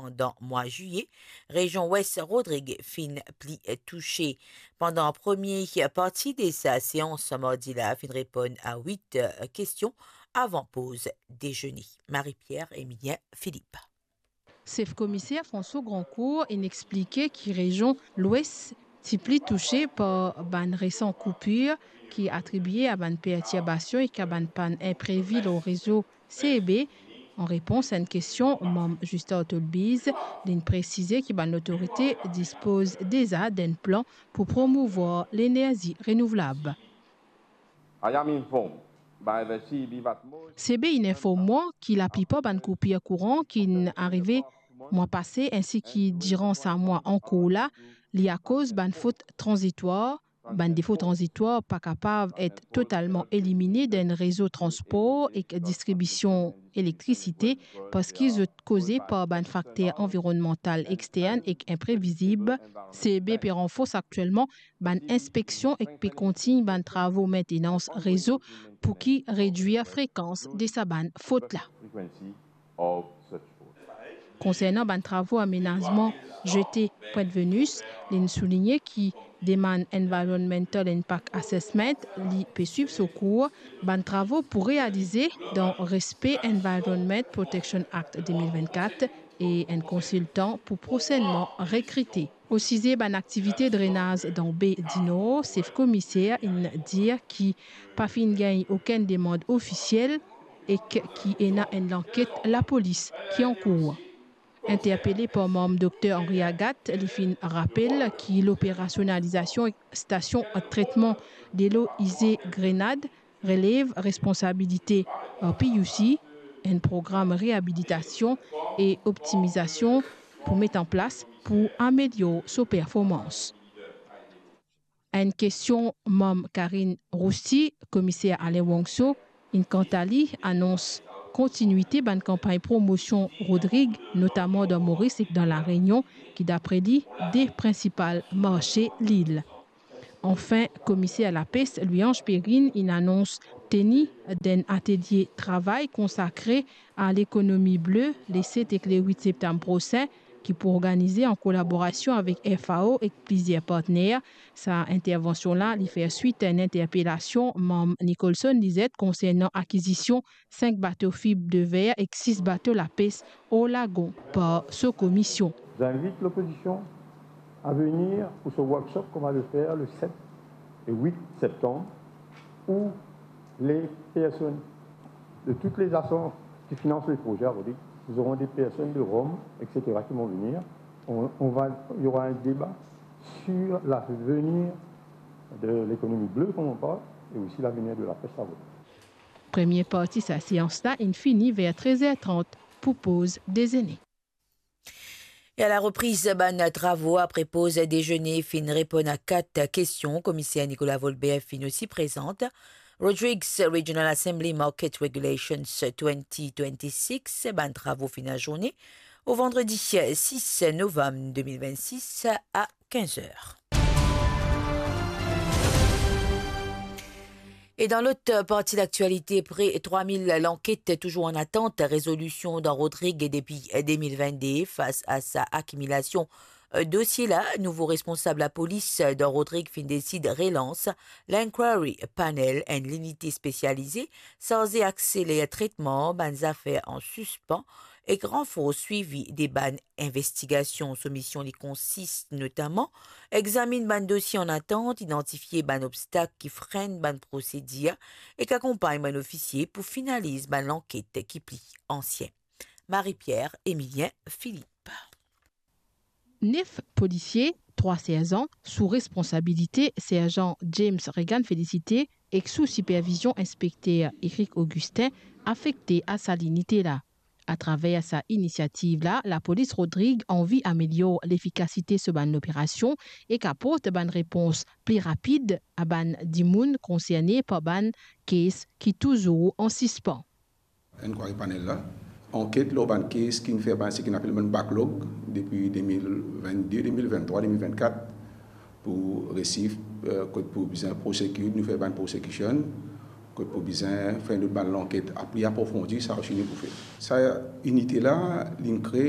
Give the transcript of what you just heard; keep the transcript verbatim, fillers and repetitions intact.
pandan mwa ziye, rezion Wes Rodrig finn pli touse. Pandan premie parti de sa seans mardi la finn reponn a wit kestion avan poz dezene. Marie-Pierre Emilien Philippe. Sef Komiser François Grandcourt inn explike ki rezion Lwes ti pli touse par bann resan koupir ki atribie a bann pertirbasion ek a bann pann inprevi lor rezo C E B. An repons a enn kestion manm Justin Otolbiz, linn presize ki bann lotorite dispoz deza d'enn plan pou promouvwar lenerzi renouvlab. I am informed by the C E B that most C E B inn inform mwa ki laplipar bann koupir kouran ki'nn arive mwa pase, ensi ki diran sa mwa ankor la, li akoz bann fot tranzitwar. Bann defo tranzitwar pa kapav et totalman elimine dan enn rezo transpor ek distribision elektrisite, parski zot koze par bann fakter anvironnmantal extern ek inprevizib. C E B pe ranfors aktielman bann inspeksion ek pe kontign bann travo maintenans rezo pou ki redwir frekans de sa bann fot la. Konsernan bann travo amenazman zete Pointe Venus, linn souligne ki demann Environmental Impact Assessment li pe swiv so kour. Bann travo pou realize dan respe Environment Protection Act de mil vennkat e enn konsiltan pou prosennman rekrite. O size bann aktivite drenaz dan Be di Nor, sef komiser inn dir ki pa finn gagn okenn demann ofisiel ek ki ena enn lanket lapolis ki ankour. Interpele par manm Dokter Henri Agathe, li finn rapel ki loperasionalizasion stasion tretman delo ize Grenad relev responsabilite P U C, enn program reabilitasion e optimizasion pou met an plas pou amelior so performans. Enn kestion manm Karine Rousti, komiser Alain Wangso inn kanta li anons kontinuite bann kanpagn promosion Rodrig, notaman dan Moris ek dan La Reunion, ki dapre li de prinsipal marse lil. Anfin, komiser lapes Louis-Ange Perrine inn anons teni d'enn atelie travay konsakre a lekonomi ble le set ek le wit septam prosin, ki pou organize an kolaborasion avek F A O ek plizier partner. Sa intervansion la, li fer swit a enn interpelasion manm Nicholson Lizette konsernan akizision sink bato fib de ver ek sis bato lapes or lagon par so komisie. J'invite l'opposition à venir pour ce workshop qu'on va le faire le sept et huit septembre, où les personnes de toutes les agences qui financent les projets à Rodrigue, nous aurons des personnes de Rome, et cetera qui vont venir. On, on va, il y aura un débat sur l'avenir de l'économie bleue, comme on parle, et aussi l'avenir de la pêche à Rodrigue. Premie parti sa seans la inn fini ver trez er trant pou poz dezene. E a la repriz, bann travo apre poz dezene finn reponn a kat kestion. Komiser Nicolas Volbert finn osi prezant Rodrigues Regional Assembly Market Regulations twenty twenty-six. Bann travo finn azourne o vandredi sis novam de mil vennsis a kinz er. E dan lot parti laktialite, pre trwa mil lanket touzour an atant rezolision dan Rodrig depi de mil vennde. Fas a sa akimilasion dosie la, nouvo responsab lapolis dan Rodrig finn desid relans l'Inquiry Panel, enn linite spesialize sarze akseler tretman bann zafer an sispan ek ranfors swivi de bann investigasion. So mision li konsist notaman examinn bann dosie an atant, idantifie bann obstak ki frenn bann prosedir ek akonpagn bann ofisie pou finaliz bann lanket ki pli ansien. Marie-Pierre Emilien Philippe. Nef polisie, trwa serzan, sou responsabilite serzan James Regan Félicité ek sou sipervizion inspekter Eric Augustin, afekte a sa linite la. Atraver sa inisiativ la, lapolis Rodrig anvi amelior lefikasite so bann loperasion ek aport bann repons pli rapid a bann dimoun konserne par bann kes ki touzour an sispan. Inquiry Panel la anket lor bann kes ki finn fer bann, seki nou apel bann backlog depi de mil vennde, de mil venntrwa, de mil vennkat, pou resi, eh, kot pou bizin prosekit, nou fer bann prosecution, kot pou bizin fer enn lot bann lanket pli aprofondi, sa osi nou pou fer. Sa inite la, linn kre